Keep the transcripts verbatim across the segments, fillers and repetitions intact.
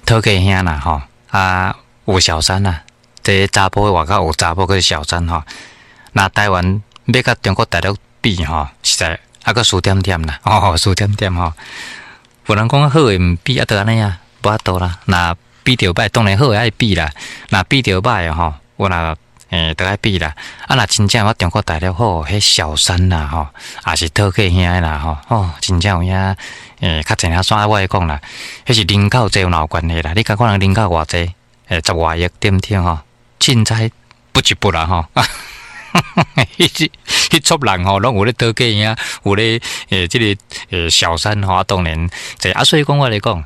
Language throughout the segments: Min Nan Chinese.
討客兄啦吼，啊有小三啦，這查埔外口有查某閣小三吼。若台灣欲佮中國大陸比吼，實在猶閣輸點點啦，哦，輸點點吼。有人講好的毋比啊，就按呢啊，無法度啦。若比著䆀，當然好的愛比啦。若比著䆀的吼，我若欸，都愛比啦。啊，若真正我中國大陸好，彼小三啦吼，也是討客兄的啦吼，哦，真正有影欸，較濟領山我會講啦，彼是人口濟有哪有關係啦？你感覺人人口偌濟？欸，十外億對毋對吼？凊彩不一不啦吼。彼彼撮人吼，攏有咧討客兄，有咧欸，這個欸小三吼，啊，當然這啊，所以講我來講，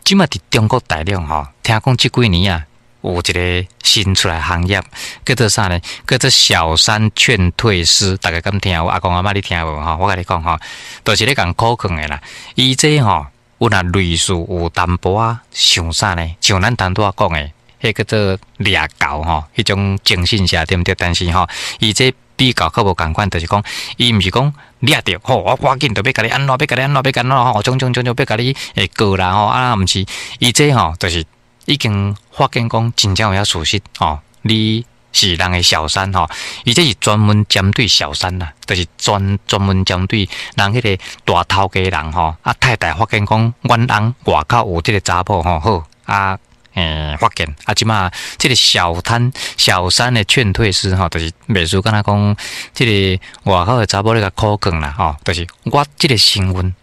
這馬佇中國大陸吼，聽講這幾年啊，有一個新出來行業，叫做啥呢？叫做小三勸退師，大家敢聽有？阿公阿嬤你聽無吼？我共你講吼，就是咧共苦勸的啦。伊這吼，有若類似有淡薄仔像啥呢？像咱頭拄仔講的，彼叫做掠猴吼，彼種徵信社對毋對？但是吼，伊這比較較無仝款，就是講，伊毋是講掠著吼，我趕緊就欲共你按怎，欲共你按怎，欲共按怎吼，種種種種欲共你會告啦吼，啊，毋是，伊這吼就是已經發現講真正有影事實吼，你是人的小三吼，伊這是專門針對小三啦，就是專專門針對人彼個大頭家人吼，啊太太發現講阮翁外口有這個查某吼，好啊。欸，發現啊，這馬這個小攤小三的勸退師吼，就是袂輸敢若講，這個外口的查某咧共苦勸啦吼，就是我這個身份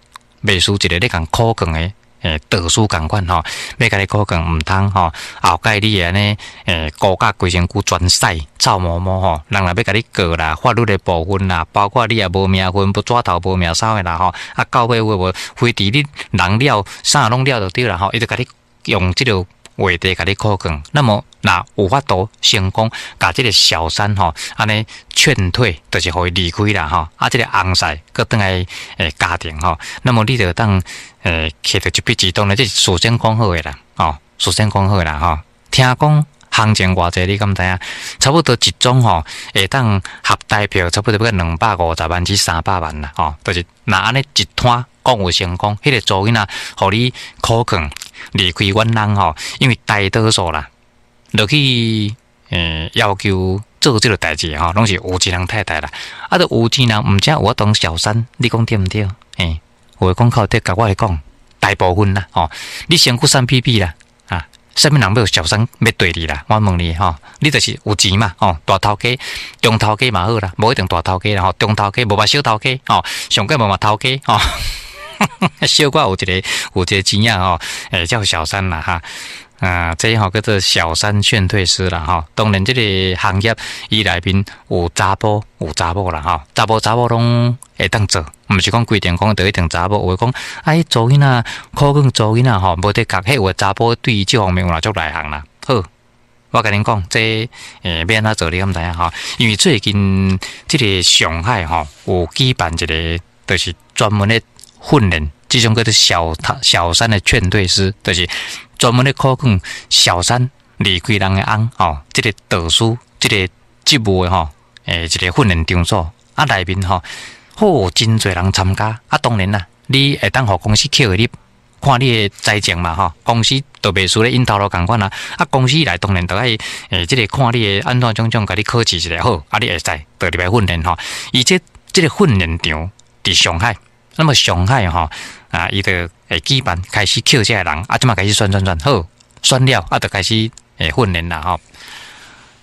袂輸一個咧共苦勸的欸導師仝款吼，欲共你苦勸毋通吼，後蓋你會按呢欸，孤甲規身軀全屎臭毛毛吼，人若欲共你告啦，法律的部分啦，包括你也無名份，無紙頭無名梢的啦吼，啊到尾有無非佇你人了啥攏了就對啦吼，伊就共你用這個話題共你苦勸，那麼若有法度成功，共這個小三吼按呢勸退，就是予伊離開啦吼，啊，這個翁婿閣轉來欸家庭吼，那麼你就當欸摕著一筆錢，當然這是事先講好的啦，吼，事先講好的啦吼。聽講行情偌濟，你敢知影？差不多一宗吼，會當合台票，差不多欲兩百五十萬至三百萬啦，吼，就是若按呢一攤講有成功，彼個查某囡仔予你苦勸離開阮翁吼，因為大多數啦，落去欸要求做這個代誌吼，攏是有錢人太太啦，啊，著有錢人毋才有法當小三，你講對毋對？欸，有話講較對，共我來講，大部分啦，吼，你身軀瘦屁屁啦，啊，啥物人欲有小三欲綴你啦？我問你吼，你就是有錢嘛，吼，大頭家、中頭家嘛好啦，無一定大頭家啦，吼，中頭家無嘛小頭家，吼，上蓋無嘛頭家，吼。小可有一個有一個錢仔吼，欸叫小三啦哈，啊，這吼叫做小三勸退師啦吼。當然，這個行業伊內面有查埔有查某啦吼，查埔查某攏會當做，毋是講規定講就一定查某。有的講啊，彼查囡仔苦勸查囡仔吼，無的確，彼有的查埔對這方面有若足內行啦。好，我共恁講，這欸欲按怎做，你敢知影吼？因為最近這個上海吼有舉辦一個，就是專門的訓練，這種叫做小小三的勸退師，就是專門咧苦勸小三離開人的翁吼，這個導師，這個職務的吼，欸，一個訓練場所啊，內面吼，好真濟人參加啊。當然啦，你會當予公司扣你，看你的才情嘛吼，公司就袂輸咧𪜶頭路仝款啊。啊，公司來當然就愛欸，這個看你的按怎種種，共你考試一下好，啊，你會使就入來訓練吼。伊這這個訓練場佇上海。那麼上海吼啊，伊就會舉辦開始抾這个人，啊，這馬開始選選選，好選了，啊，就開始會訓練啦吼。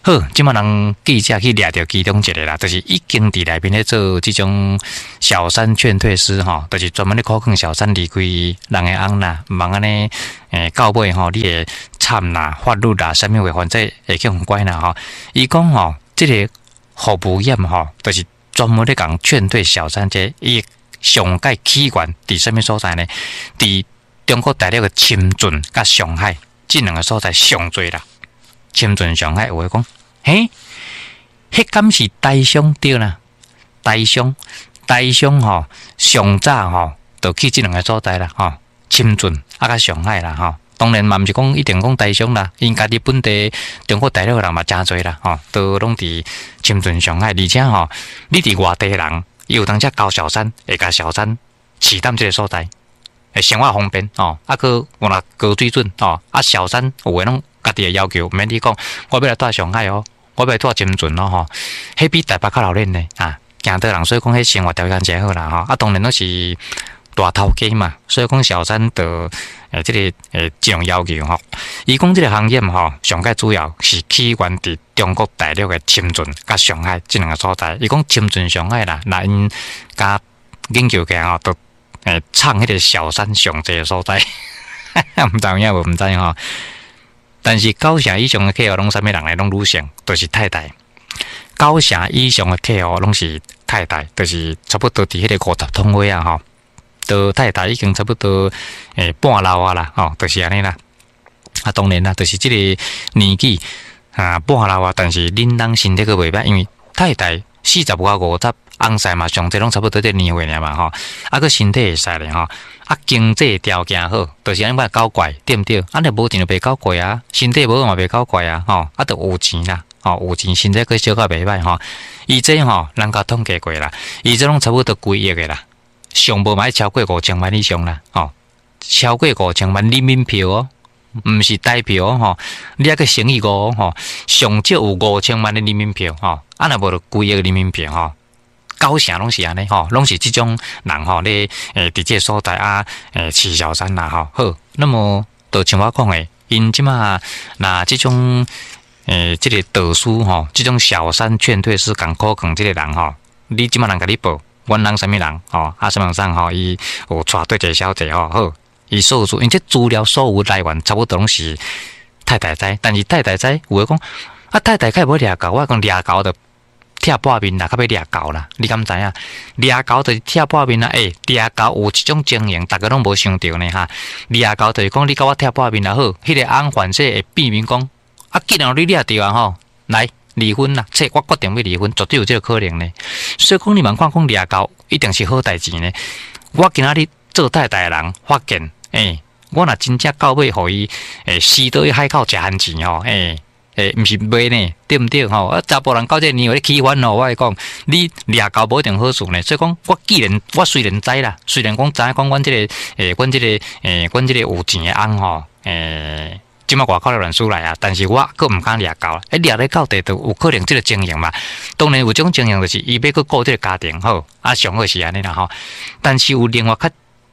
好，這馬人記者去掠著其中一個啦，就是已經佇內面咧做這種小三勸退師吼，就是專門咧苦勸小三離開人的翁啦，毋通按呢欸到尾吼，你會慘啦，法律啦，啥物話，反正會去予關啦吼。伊講吼，這個服務業吼，就是專門咧共勸退小三這伊。上蓋起源佇啥物所在呢？佇中國大陸的深圳佮上海這兩個所在上濟啦。深圳、上海有話講，嘿，彼敢是台商對啦？台商，台商吼，上早吼，就去這兩個所在啦，吼，深圳啊佮上海啦，吼。當然嘛，毋是講一定講台商啦，𪜶家己本地中國大陸的人嘛誠濟啦，吼，都攏佇深圳、上海，而且吼，你佇外地人。伊有當時交小三，會共小三飼踮這個所在，生活方便吼，啊，閣有若高水準吼，啊，小三有的攏家己的要求，毋免你講，我欲來蹛上海哦，我欲來蹛深圳咯吼，彼比台北較鬧熱呢啊！驚到人，所以講彼生活條件誠好啦吼，啊，當然攏是大頭家嘛，所以講小三就欸這個欸這種要求吼。伊講這個行業吼，上蓋主要是起源佇中國大陸的深圳佮上海這兩个所在。伊講深圳、上海啦，若𪜶共研究起來吼，就欸藏彼个小三上濟的所在，毋知有影無？毋知吼。但是九成以上的客戶攏啥物人呢？攏女性，就是太太。九成以上的客戶攏是太太，就是差不多佇彼个五十通歲啊吼，都太太已經差不多欸半老啊啦，吼，就是按呢啦。啊，當然啦，就是這个年紀啊半老啊，但是恁翁身體閣袂䆀，因為太太四十外五十，翁婿嘛上濟攏差不多這年歲爾嘛吼，啊，閣身體會使咧吼，啊，經濟條件好，就是按呢搞怪，對毋對？啊，若無錢就袂搞怪啊，身體無好嘛袂搞怪啊，吼，啊，著有錢啦，吼，有錢身體閣小可袂䆀吼。伊這吼，人共統計過啦，伊這攏差不多幾億的啦，上無嘛愛超過五千萬以上啦，吼，超過五千萬人民幣哦，毋是台幣哦，吼，你猶閣乘以五吼，上少有五千萬的人民幣吼，啊，若無就幾億人民幣吼。九成攏是按呢吼，攏是這種人吼，咧欸佇這个所在啊，欸飼小三啦吼。好，那麼就像我講的，𪜶這馬若這種欸這个導師吼，這種小三勸退師共苦講這个人吼，你這馬人共你報，阮翁啥物人吼，啊啥物人吼，伊有帶對一个小姐吼，好，伊所有，因這資料所有來源差不多攏是太太知，但是太太知有的講，啊太太較無掠猴，我講掠猴就拆破面啦，較欲掠猴啦，你敢知影？掠猴就是拆破面啦，欸，掠猴有一種情形，逐家攏無想著呢哈。掠猴就是講你共我拆破面也好，彼个翁反正會變面講，啊，既然予你掠著啊吼，來離婚啦，這我決定欲離婚，絕對有這个可能呢。所以講你莫看講掠猴一定是好代誌呢。我今仔日做太太的人發現，欸，我若真正到尾予伊欸死倒去海口食番錢吼，欸。欸，毋是袂呢，對毋對吼？啊，查埔人到這个年歲起反吼，我會講，你掠猴無一定好事呢。所以講，我既然我雖然知啦，雖然講知影講阮這个欸，阮這个欸，阮這个有錢的翁吼，欸，這馬外口的亂輸來啊，但是我閣毋敢掠猴，欸，掠咧到底就有可能這个情形嘛。當然有這種情形，就是伊欲閣顧這个家庭好，啊，上好是按呢啦吼。但是有另外較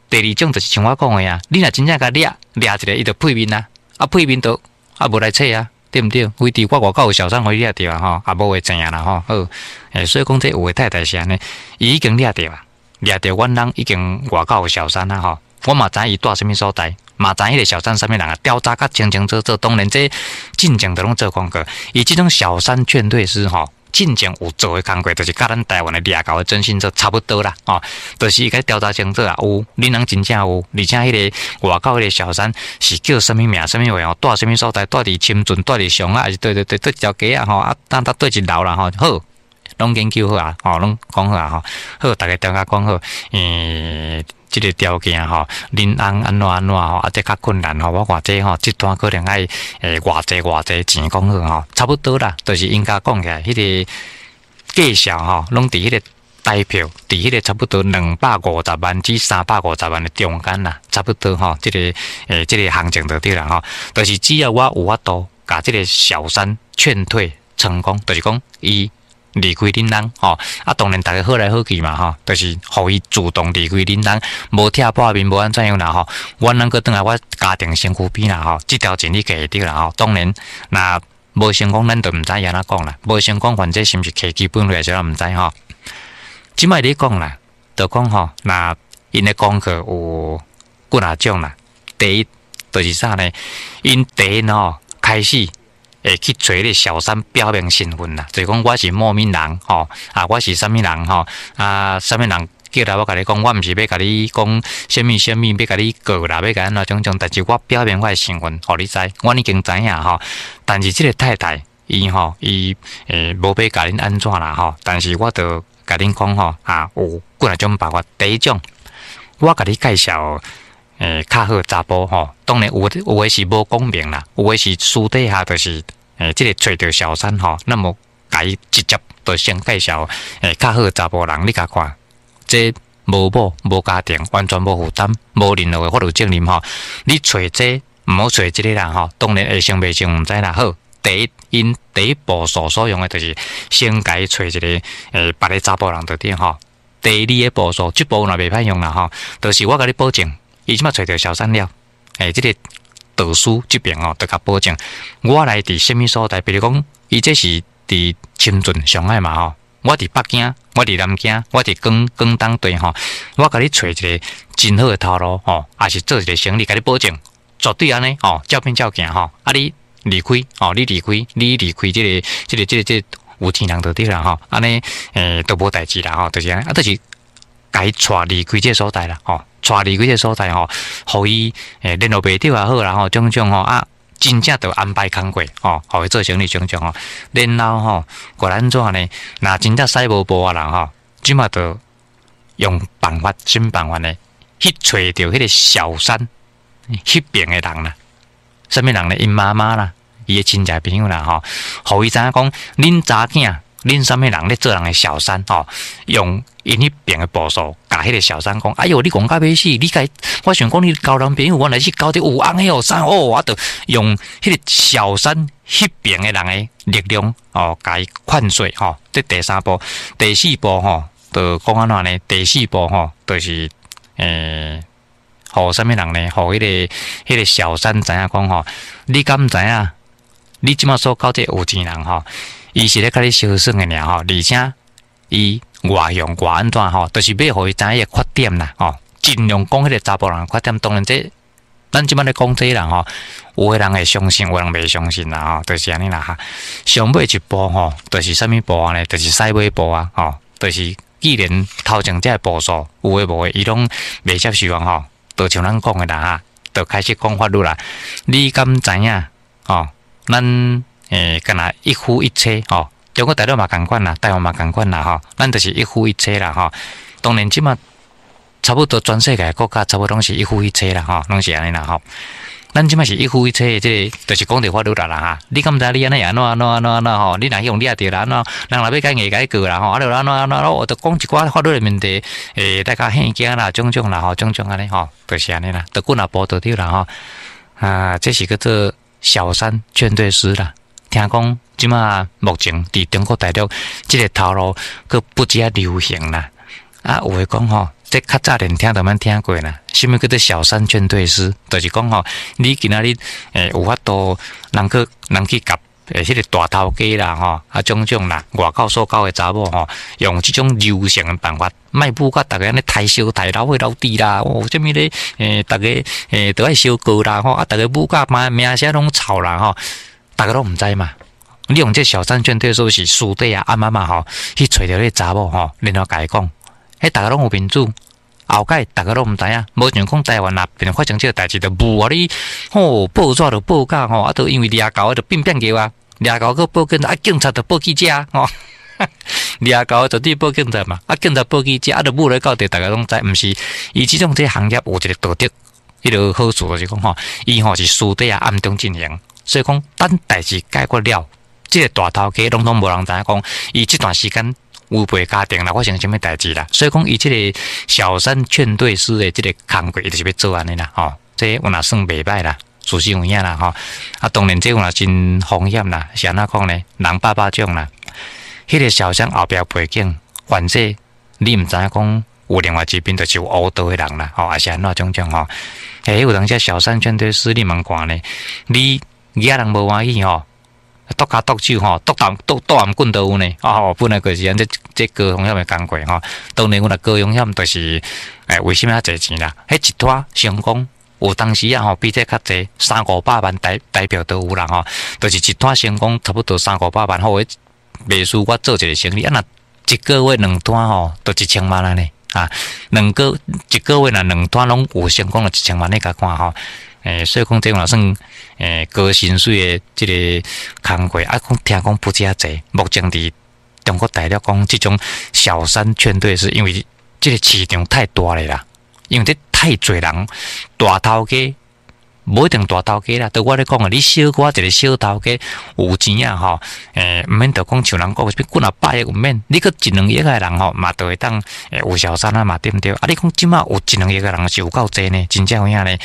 第二種，就是像我講的啊，你若真正共掠掠一个，伊就屁面啊，啊屁面就啊無來揣啊。對毋對？非佇我外口有小三予伊掠著啊吼，也無話知影啦吼。好，欸，所以講這有的太太是按呢，伊已經掠著啊，掠著阮翁已經外口有小三啊吼。我嘛知伊蹛啥物所在，嘛知彼个小三啥物人啊，調查較清清楚楚。當然這進前就攏做功課，伊這種小三勸退師吼，進前有做的工課，就是佮咱台灣的掠猴的徵信社差不多啦，吼，就是伊共調查清楚啊，有恁翁真正有，而且彼个外口彼个小三是叫啥物名、啥物話吼，蹛啥物所在，蹛佇深圳、蹛佇上海，還是佗佗佗佗一條街啊吼，啊，等佗佗一樓啦吼，好，攏研究好啊，吼，攏講好啊吼，好，逐家調查講好，欸，這个條件吼，恁翁按怎按怎吼，啊，這較困難吼，我看這吼，這單可能愛欸偌濟偌濟錢講好吼，差不多啦，就是𪜶共講起來，彼个介紹吼，攏佇彼个台票，佇彼个差不多兩百五十萬至三百五十萬的中間啦，差不多吼，這个欸這个行情就對啦吼，就是只要我有法度共這个小三勸退成功，就是講伊離開恁翁吼，啊，當然逐家好來好去嘛吼，就是予伊主動離開恁翁，無拆破面，無按怎樣啦吼，阮翁閣轉來我家庭身軀邊啦吼，這條錢你計會著啦吼。當然，若無成功，咱就毋知按怎講啦。無成功，反正是毋是提基本費，啥毋知吼。這擺咧講啦，就講吼，若𪜶的功課有幾若種啦。第一，就是啥呢？𪜶第一吼開始會去揣彼个小三表明身份啦，就是講我是某某人吼，啊，我是啥物人吼，啊，啥物人叫來我共你講，我毋是欲共你講啥物啥物，欲共你告啦，欲共按怎種種，但是我表明我的身份，予你知，我已經知影吼。但是這个太太，伊吼，伊欸無欲共恁按怎啦吼，但是我就共恁講吼，啊，有幾若種辦法。第一種，我共你介紹。欸，較好查埔吼，當然有有的是無講明啦，有的是私底下就是欸，這个揣著小三吼，那麼共伊直接就先介紹欸，較好查埔人，你共看，這無某無家庭，完全無負擔，無任何的法律責任吼。你揣這毋好揣這个人吼，當然會成袂成毋知啦。好，第一，𪜶第一步數所用的就是先共伊揣一個欸別个查埔人就對吼。第二个步數，這步若袂歹用啦吼，就是我共你保證，伊這馬揣著小三了，欸，這个導師這邊哦，就共保證，我來佇啥物所在，比如講，伊這是佇深圳、上海嘛吼，我佇北京，我佇南京，我佇廣廣東地吼，我共你揣一个真好的頭路吼，抑是做一个生意，共你保證，絕對按呢吼，照片照鏡吼，啊你離開吼，你離開，你離開這个、這个、這個、這個有錢人就對啦吼，按呢欸都無代誌啦吼，就是按呢，啊就是共伊帶離開這个所在啦吼，帶離開這个所在吼，予伊欸聯絡袂著也好啦吼，種種吼啊，真正就安排工課吼，予伊做生意種種吼，然後吼，過來按怎呢？若真正使無步的人吼，這馬就用辦法，啥物辦法呢？去揣著彼个小三彼邊的人啦，啥物人呢？𪜶媽媽啦，伊的親戚朋友啦吼，予伊知影講，恁查囝，恁啥物人咧做人的小三吼，用𪜶彼邊的步數，共彼个小三講，哎喲，你戇甲欲死，你共我想講你交男朋友，原來是交著有翁的哦，啥哦，啊，就用彼个小三彼邊的人的力量哦，共伊勸說吼。這第三步、第四步吼，就講按怎呢？第四步吼，就是欸，予啥物人呢？予彼个彼个小三知影講吼，你敢知影？你這馬所交這个有錢人吼，伊是咧共你相耍的爾吼，而且伊外向外按怎吼，就是欲予伊知影伊的缺點啦吼，盡量講彼个查埔人缺點。當然這咱這馬咧講這个人吼，有的人會相信，有的人袂相信啦吼，就是按呢啦哈。上尾一步吼，就是啥物步呢？就是屎尾步啊吼，就是既然頭前這个步數有的無的，伊攏袂接受啊吼，就像咱講的啦哈，就開始講法律啦。你敢知影吼？咱欸，敢若一夫一妻吼，中國大陸嘛仝款啦，台灣嘛仝款啦吼，咱就是一夫一妻啦吼。當然這馬差不多全世界國家差不多攏是一夫一妻啦吼，攏是按呢啦吼。咱這馬是一夫一妻的這个，就是講著法律啦啦哈。你敢知你按呢按怎按怎按怎按怎吼？你若去予掠著啦，按怎人若欲共伊硬共伊告啦吼？啊，就按怎按怎，我就講一寡法律的問題，欸，大家嚇驚啦，種種啦吼，種種按呢吼，就是按呢啦，就幾若步就對啦吼。啊，這是叫做小三勸退師啦。聽講這馬目前佇中國大陸這个頭路閣不止仔流行啦。啊，有的講吼，這較早連聽都免聽過啦。啥物叫做小三勸退師？就是講吼，你今仔日欸有法度人去人去共欸彼个大頭家啦吼，啊種種啦，外口所交的查某吼，用這種柔性的辦法，莫舞甲逐家按呢刣燒刣老火老豬啦，哦，啥物咧？欸，逐家欸都愛相告啦吼，啊，逐家舞甲嘛名聲攏臭啦吼，逐家攏毋知嘛。你用這小三勸退師是私底下暗暗仔吼，去揣著彼个查某吼，然後共伊講，彼逐家攏有面子，後蓋逐家攏毋知影，無像講台灣若變發生這个代誌，就無予你吼報紙就報甲吼，啊，都因為掠猴就變變叫啊，掠猴閣報警察，啊，警察就報記者吼，掠猴絕對報警察嘛，啊，警察報記者，啊，就舞來到底，逐家攏知，毋是，伊這種這行業有一個道德，彼个好處就是講吼，伊吼是私底下暗中進行，所以講等代誌解決了，這個大頭家攏總無人知影講，伊這段時間違背家庭啦，發生啥物代誌啦，所以講伊這個小三勸退師的這個工課，伊就是欲做按呢啦，吼，這有若算袂歹啦，事實有影啦，吼，啊，當然這有若真風險啦，是按怎講呢？人百百種啦，彼個小三後壁背景，反正你毋知影講有另外一邊就是有烏道的人啦，吼，抑是按怎種種吼，欸，有當時小三勸退師，你茫看呢？你惹人無歡喜吼？剁跤剁手吼，剁啖剁剁頷棍都有呢。哦，本來就是按這這高風險的工課吼。當然，阮若高風險就是，欸，為啥物遐濟錢啦？彼一拖成功，有當時啊吼，比這較濟三五百萬台台票都有啦吼。就是一拖成功，差不多三五百萬。好，袂輸我做一个生意，啊若一個月兩單吼，就一千萬啦呢。啊，兩個一個月若兩單攏有成功，就一千萬，你共看吼。欸，所以講這嘛算欸高薪水的這个工課，啊，講聽講不止遐濟。目前佇中國大陸講這種小三勸退是因為這个市場太大了啦，因為這太濟人大頭家無一定大頭家啦，著我咧講的，你小可一个小頭家有錢啊吼，欸，毋免著講像人講啥物幾若百億毋免，你閣一兩億的人吼，嘛著會當有小三啊嘛，對毋對？啊，你講這馬有一兩億的人是有夠濟呢，真正有影呢？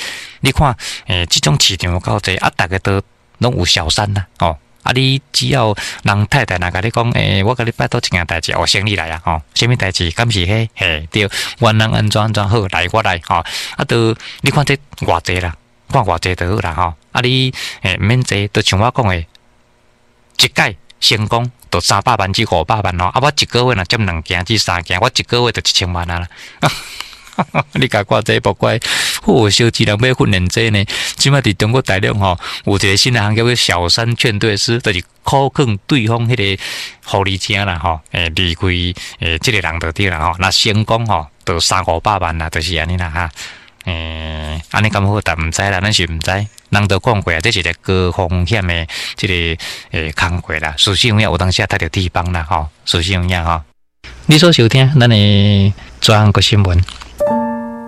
你看，欸，這種市場有夠濟，啊，逐家都攏有小三啦，吼。啊！你只要人太太若共你講，欸，我共你拜託一件代誌，哦，先你來啊，吼，啥物代誌？敢是彼？嘿，對，阮翁按怎按怎好，來我來，吼。啊，著你看這偌濟啦，看偌濟就好啦，吼。啊，你欸毋免濟，就像我講的，一擺成功就三百萬至五百萬吼。啊，我一個月若接兩件至三件，我一個月就一千萬啊啦。你共看這莫怪，好小一人欲訓練這呢。這馬佇中國大陸吼，有一个新的行業叫小三勸退師，就是苦勸對方彼个狐狸精啦吼，欸離開欸這个人就對啦吼。若成功吼，就三五百萬啦，就是按呢啦哈。欸，按呢敢好，但毋知啦，咱是毋知。人都講過啊，這是一个高風險的這个欸工課啦。事實有影有當時也踢著鐵板啦吼，事實有影吼。你所收聽咱的專國新聞。